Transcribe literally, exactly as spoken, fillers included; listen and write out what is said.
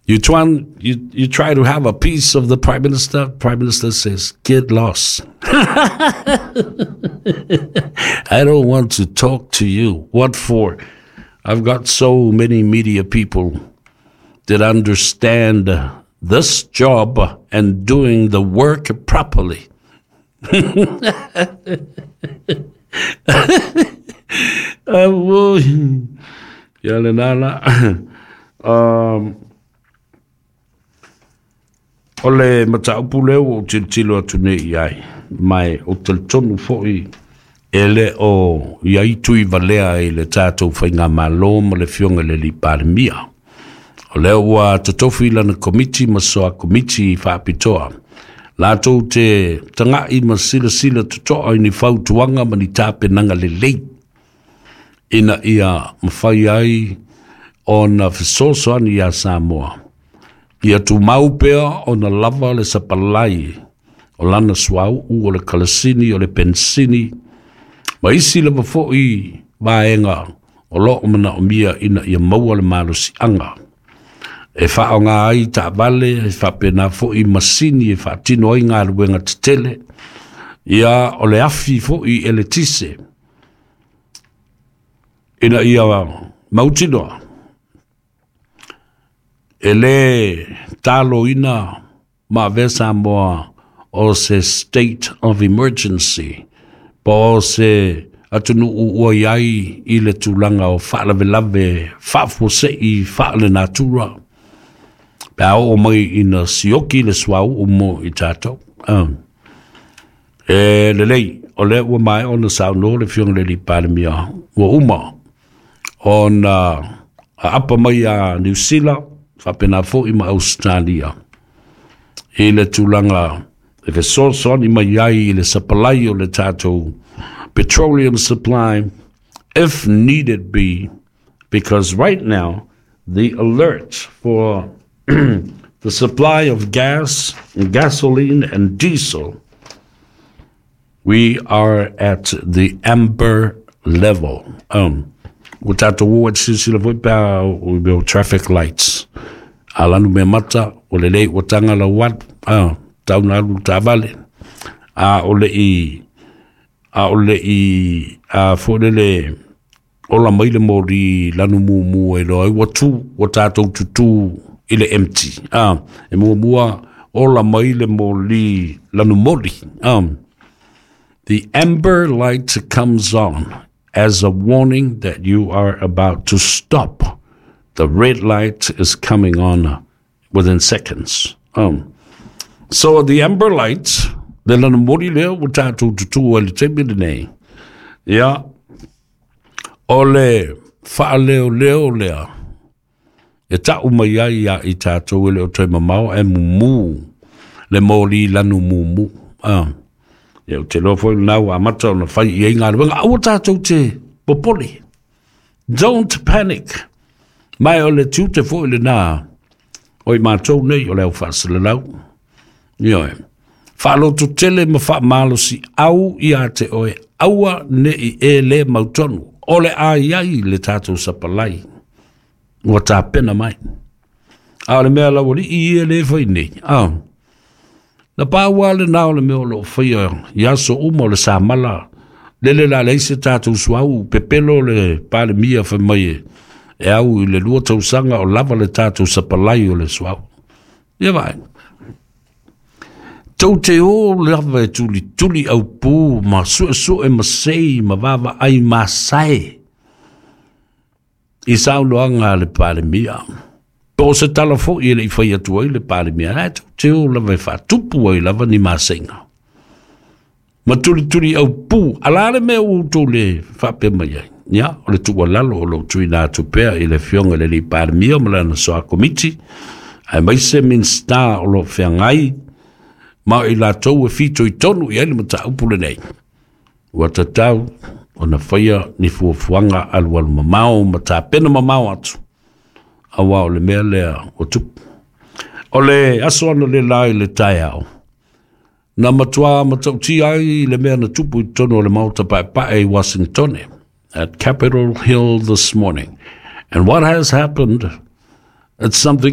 You try, you, you try to have a piece of the Prime Minister, Prime Minister says, get lost. I don't want to talk to you. What for? I've got so many media people that understand this job and doing the work properly. Ia lena la. Um, o le mataupu lea ua ou tilotilo atu nei i ai, ma ou te talitonu foi e le o i ai tui valea i le tatou faigamalo ma le Afioga i le Alii Palemia. O lea ua totofi lana komiti ma soa komiti faapitoa latou te taga'i ma silasila toto'a i ni fautuaga ma ni tapenaga lelei ina ia mafai ai ona fesoasoani iā Samoa ia tumau pea ona lava le sapalai o lana suauu, o le kalasini, o le pensini ma isi lava fo'i vaega o loo manaomia ina ia maua le malosiaga e faaaoga ai taavale, e faapena fo'i masini e faatino ai galuega tetele, ia o le afi fo'i eletise ina ia mautinoa e lē taloina ma avea Samoa o se state of emergency po o se atunuu ua i ai i le tulaga o faalavelave faafuase'i faalenatura pe a oo mai ina sioki le suauu mo i tatou. Um. E lelei, o lea ua maea ona saunoa le Afioga i le Alii Palemia ua uma ona aapa mai a Niu Sila faapena fo'i ma Ausetalia i le tulaga e fesoasoani mai ai i le sapalai o le tatou petroleum supply if needed be, because right now the alert for the supply of gas, gasoline and diesel, we are at the amber level. Um, ua tatou o ai silasila foi pe a o mea o traffic lights. A lanu mea mata, ua lelei ua taga lau alu, ah, tau na alu taavale. A o le i, a o le i, a foi lele, ola mai le moli lanu mumu e loa ai ua tu, ua tatou tutū i le empty. Ah, e muamua ola mai le moli lanu moli. Ah, the amber light comes on as a warning that you are about to stop. The red light is coming on within seconds. Um, so the amber light, le lanu moli lea ua tatou tutū ai le taimi lenei. Ia, o le faaleoleo lea e ta'u mai ai ia i tatou e le o toe mamao ae mumu le moli lanu mumu. Ah. Ia, ou te iloa foi lena ua amata ona fai i ai galuega. Aua tatou te popole. Don't panic. Ma o le tiute foi lena o i matou nei o le au faasalalau. Ioe. Faalototele ma faamalosi au ia te oe, aua ne i e le mautonu. O le a i ai le tatou sapalai ua tapena mai. A o le mea laualii ia lea e fai nei, a, na pau lava lena o le mea o lo o faia i aso uma o le samala, lele la leai se tatou suauu, pepelo le Palemia fai mai e, e au i le lua tausaga o lava le tatou sapalai o le suauu. Ia vaai. Tou te o lava e tulituli aupū ma suesue ma sei ma vaavaai masae i saunoaga a le Palemia. Po o se tala foi e le i fai atu ai le Palemia, ae tou te o lava e faatupu ai lava ni maseiga. Ma tulituli aupū, a la le mea ua outou le faapea mai ai? Ia, o le tuualalo o lo o tuuina atu pea i le Afioga i le Alii Palemia ma lana soa komiti, aemaise Minisita o lo o feagai ma o i latou e fitoitonu i ai le mataupu lenei. Ua tatau ona faia ni fuafuaga alualu mamao ma tapena mamao atu, aua o le mea lea ua tupu. O le aso analeila i le taeao, na matua matautia ai le mea na tupu i totonu o le Maota Paepae i Uasinitone, at Capitol Hill this morning. And what has happened, it's something